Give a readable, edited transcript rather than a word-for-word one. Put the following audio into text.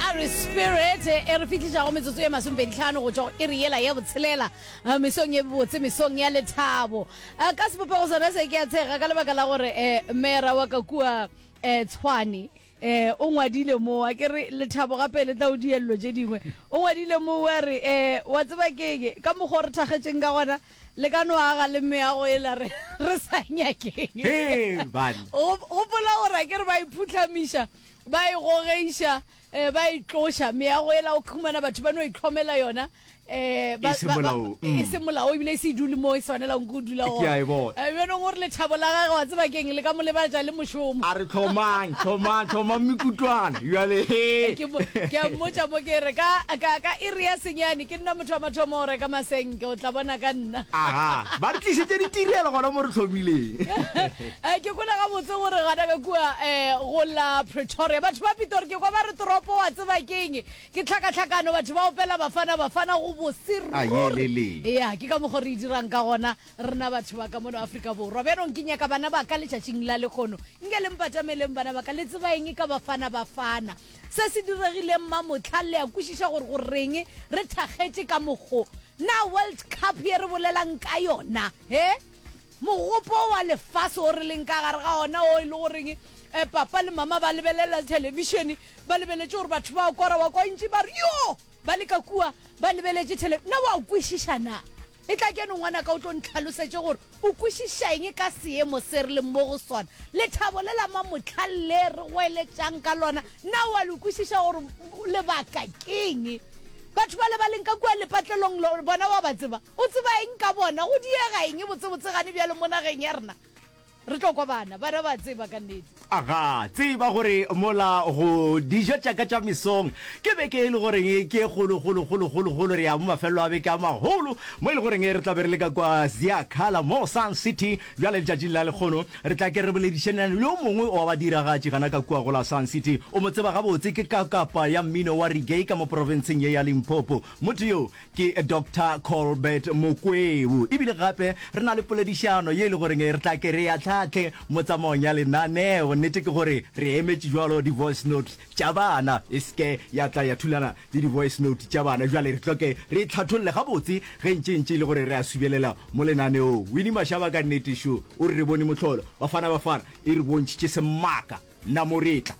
A re Spirit e re fihlišago metsotso ye masomepeditlhano go tšwa go iri yela ya botshelela eh, mesong ye botse mesong ya lethabo. Eh, Ka sebopego sona se ke a tshega ka lebaka la gore eh, mera wa ka kua eh, Tshwane eh, o ngwadile mo a ke re lethabo gape le tla o diello tše dingwe o ngwadile mo wa re eh, wa tseba keng ka mokgwa o re thakgetšeng ka gona le ka no aga le meago ela re re sa nyakeng. Hee, banna. Gopola gore a ke re ba iphuhlamiša ba e gogeiša um ba e tloša meago ela o khumana batho ba no itlhomela yona um E se molaong, mm. e se molao ebile e se e dule mo e swanelang ko dula Ke a e bona. Eh, bjanong gore lethabo la gage wa tseba keng le ka mo lebatša le mošomo A re tlhomang, tlhomang, tlhomang mekutwana. Bjale, he. ke mo- ke a mmotša mo ke re ka ka ka iri ya senyane ke nna motho wa mathomo go reka masenke o tla bona ka nna Aga, ba re tlišetše ditirelo gona mo re tlhomileng. Eh, ke kwele gabotse gore gana ka kua um go la Pretoria batho ba Pitori ke kwa ba re toropo wa tseba keng ke tlhakatlhakano batho ba opela bafana bafana go bose A ruri yelele. ya ke ka mokgo re e dirang ka gona rena batho ba ka mono Afrika Borwa bjanong ke nyaka bana ba ka letšatšing la lekgono nke le mpatameleng bana ba ka le tseba eng ka bafana bafana se se diregileng mamotlha le a kwešiša gore go reng re thakgetše ka mokgo na World Cup ye re bolelang ka yona he Mogopo wa lefase o re leng ka gare ga ona o e le goreng eh, papa le mama ba lebelela thelebišene ba lebeletše gore batho ba kora wa kwa ntši ba re yo ba le ka kua ba lebeletše thele na wa kwešiša na e tla ke no ngwana ka o tlo ntlhalosetše gore o kwešiša eng ka seemo se re leng mo go sona lethabo le la mamotlha le re goeletšang ka lona na wa le kwešiša gore lebaka keng batho ba le ba leng ka kua lepatlelong bona wa ba tseba O tseba eng ka bona? Go diega eng botsebotse gane bjalo mo nageng ya rena? Re tlo kwa bana. Bana ba tseba ka nnete. Aga, tseba gore mola go dijo tša ka tša mesong ke beke e le goreng ke e kgolo kgolo kgolo kgolo kgolo re ya mo mafelelo a beke a magolo mo e le goreng re tla be re le ka kwa Ziakhala mo Sun City. Bjale letšatšing la lekgono re tla ke re boledišaneng le yo mongwe wa badiragatši gana ka kua go la Sun City. O mo tseba gabotse ke kakapa ya mmino wa reggae ka mo profenseng ye ya Limpopo. Motho yo Ke Doctor Colbert Mokweu. E bile gape re na le poledišano ye e le goreng re tla ke re ya tlhatlhe mo tsamaong ya lenaneo. Nnete ke gore re emetše jwalo di-voice note tša bana, e se ke ya tla ya thulana le di-voice note tša bana. Jwale re tlo ke re e tlhatholle gabotse ge ntše ntše e le gore re a subelela mo lenaneong. Winnie Mashaba ka nnete šo o re re bone mohlolo. Bafana Bafana e re bontšhitše semaka. Nna mo re tla.